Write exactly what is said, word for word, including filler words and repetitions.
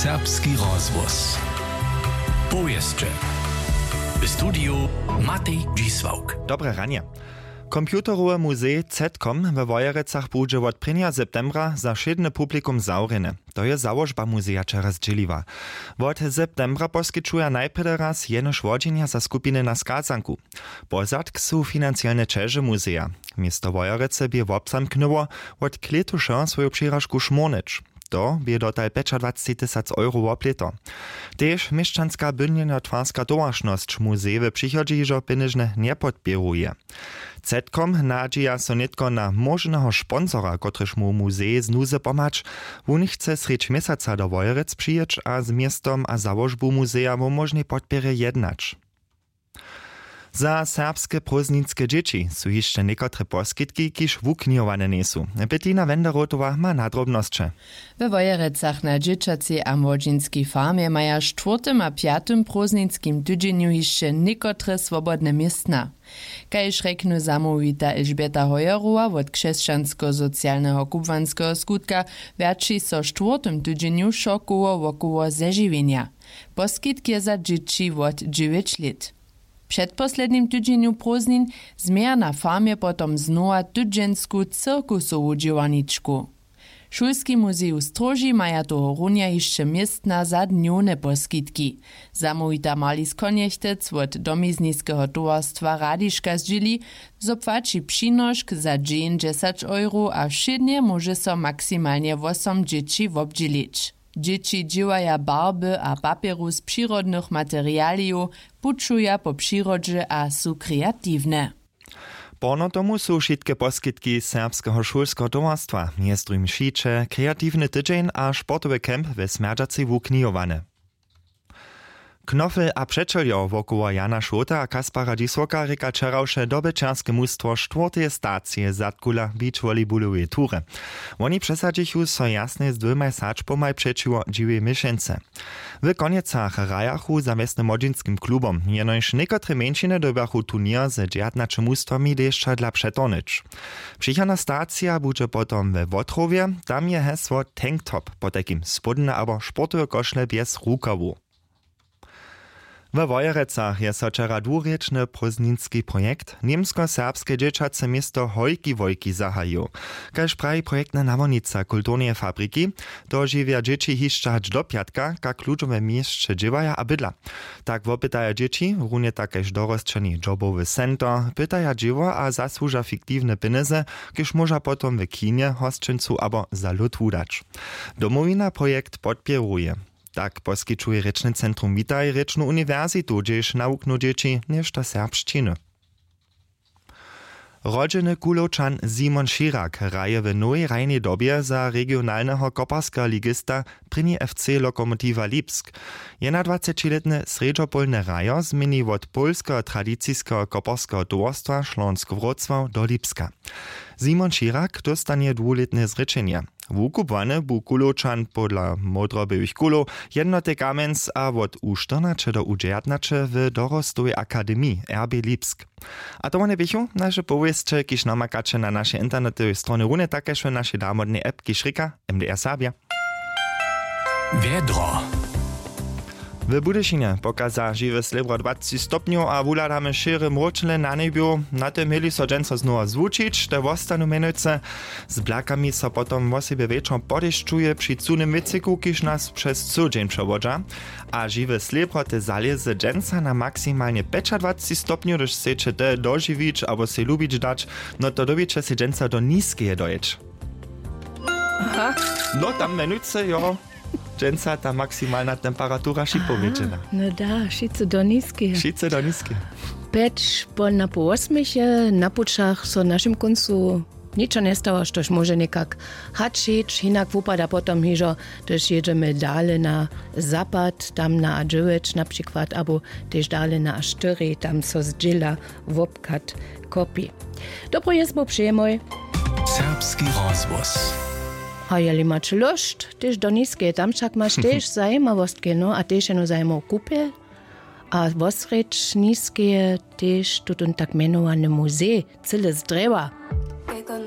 Serbski rozhłos. Powěsće. W studiju Matej Dźisławk. Dobre ranje. Computerowy muzej Zetcom we Wojerecach budźe wot prěnjeho septembra za wšědny publikum zawrjeny. To je załožba muzeja wčera zdźěliła. Wot septembra poskićuja najprjedy raz jenož wodźenja za skupiny na skazanku. Pozadk su financielne ćeže muzeja. Město Wojerecy bě wobzamknyło, wot klětušeho swoju přiražku šmórnyć. To bě dotal pjećadwaceći tysac euro wob lěto. Tež měšćanska bydlenjotwarska towaršnosć muzej w přichodźe hižo pjenježnje njepodpěruje. Zetcom nadźija so nětko na móžneho sponsora, kotryž móhł muzej z nuzy pomhać. Wón chce srjedź měsaca do Wojerec přijěć a z městom a załožbu muzeja wo móžnej podpěrje jednać. Za serbske prózdninske dźěći su hišće někotre poskitki, kiž wuknihowane njejsu. Bettina Wenderotowa ma nadrobnosće. We Wojerecach na dźěćacej a młodźinskej farmje maja w štwórtym a pjatym prózdninskim tydźenju hišće někotre swobodne městna. Kaž rjekny zamołwita Elžbjeta Hojerowa wot křesćansko-socialneho kubłanskeho skutka, wjaći so w štwórtym tydźenju wšo koło wokoło zežiwjenja. Poskitk je za dźěći wot dźewjeć lět. W předposlednim tydźenju prózdnin změja na farmje potom znowa tydźensku cirkusowu dźěłarničku. Šulski muzej w Stróži maja tohorunja hišće městna za dnjowne poskitki. Zamołwita Marlies Konjechtec wot domizniskeho towarstwa Radiška zdźěli, zo płaći přinošk za dźeń dźesać euro a wšědnje móže so maksimalnje wosom dźěći wobdźělić. Dźěći dźěłaja barby a papjeru z přirodnych materialijow, pućuja po přirodźe a su kreatiwne. Porno tomu su wšitke poskitki serbskeho šulskeho towarstwa, mjez druhim šiće, kreatiwny tydźeń a sportowy camp we smjerdźacej wuknihowane. Knofel a přećeljo wokoło Jana Šołta a Kaspara Dźisłoka rěka wčerawše dobyćerske mustwo štwórteje stacije Zadkula beach volleybuloweje tury. Woni přesadźichu so jasnje z dwěmaj sadźbomaj přećiwo dźiwej měšeńce. W Konjecach hrajachu za wjesnymłodźinskim klubom, jenož někotre mjeńšiny dyrbjachu turněr ze dźewjatnaće mustwami dešćadla přetohnyć. Přichodna stacija budźe potom we Wotrowje, tam je hesło Tanktop, potajkim spódnje abo sportowe košle bjez rukawow. We Wojerecach je so wčera dwurěčny prózdninski projekt Němsko-serbske dźěćace město Hojki Wojki zahajił. Kaž praji projektna nawodnica kulturneje fabriki, dožiwja dźěći hišće hač do pjatka, kak ludźo we měsće dźěłaja a bydla. Tak wopytaja dźěći, runje tak kaž dorosćeni jobowy center, pytaja dźěło a zasłuža fiktiwne pjenjezy, kiž móža potom w kinje, hosćencu abo za lód wudać. Domowina projekt podpěruje. Tak poskićuje rěčny centrum Witaj rěčnu uniwersitu, hdźež nawuknu dźěći něšto serbšćiny. Rodźeny Kulowčan Simon Širak hraje w nowej hrajnej dobje za regionalneho koparskeho ligista prěni F C Lokomotiwa Lipsk. Jednadwacećilětny srjedźopolny hrajo změni wot pólskeho tradiciskeho koparskeho towarstwa Schlonsk Wrocław do Lipska. Simon Širak dóstanje dwulětne zrěčenje. Wukubłany bu Kulowčan pola Módrobełych Kulow, Jednoty Kamjenc a wot U štyrnaće do U dźewjatnaće w Dorostowej akademiji R B Lipsk. A to wone běchu naše powěsće, kiž namakaće na našej internetowej stronje, runje tak kaž w našej damodnej app, kiž rěka M D R Serbja. Wjedro. W Budyšinje pokaza žiwe slěbro dwaceći stopnjow a wuhladamy šěre mróčle na njebju. Na tym měli so dźensa znowa zwučić, te wostanu mjenujcy. Z blakami so potom wosebje wječor podešćuje při cunym wětřiku, kiž nas přez cyły dźeń přewodźa. A žiwe slěbro te zalězy dźensa na maksimalnje pjećadwaceći stopnjow, hdyž chceće te dožiwić abo sej lubić dać, no to dyrbjeće sej dźensa do Niskeje dojěć. Aha. No tam mjenujcy jo. Dźensa ta maksimalna temperatura připowědźena. No da, wšitcy do Niskeje. Wšitcy do Niskeje. Pjeć po na pół wosmich je na pućach so w našim kóncu ničo njestało, štož móže někak hač hić, hinak wupada potom hižo, hdyž jědźemy dale na zapad, tam na A dźewjeć na přikład, abo tež dale na A štyri, tam so zdźěla wobchad kopi. Dobru jězbu přejemoj. Serbski rozhłos. A jeli maš lóšt, tež do Niskeje, tam wšak maš tež zajimawostke, no a tež jeno zajimow kupjel. A wosrjedź Niskeje tež tutón tak mjenowany muzej, cyle z drjewa.